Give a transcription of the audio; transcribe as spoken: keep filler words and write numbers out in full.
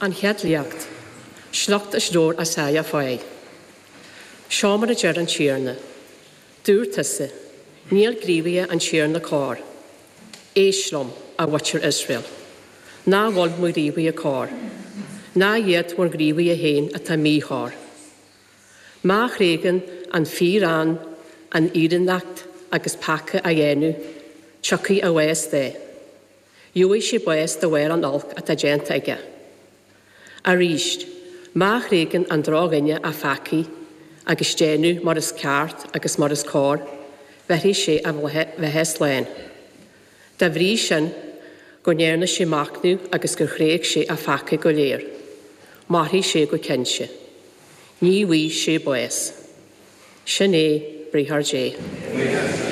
An Chéad Léacht, Sliocht as Leabhar Isáia fáidh. Seo mar a deir an Tiarna, Dúirt tusa, Níl gníomhartha an Tiarna cóir. Éist liom, a mhuintir Iosrael. Nach bhfuil mo ghníomhartha cóir? Nach iad bhur ngníomhartha féin atá míchóir? Má thréigeann an fíréan an fhírinneacht agus peaca á dhéanamh, tiocfaidh a bhás de. Gheobhaidh sé bás de bharr an oilc atá déanta aige. Arís, má thréigeann an drochdhuine a pheacaí agus déanamh mar is ceart agus mar is cóir, bheirfidh sé a bheatha slán. Dá bhrí sin, go ndearna sé machnamh agus gur thréig sé a pheacaí go léir, mairfidh sé go cinnte. Ní bhfaighidh sé bás. Sin é briathar Dé.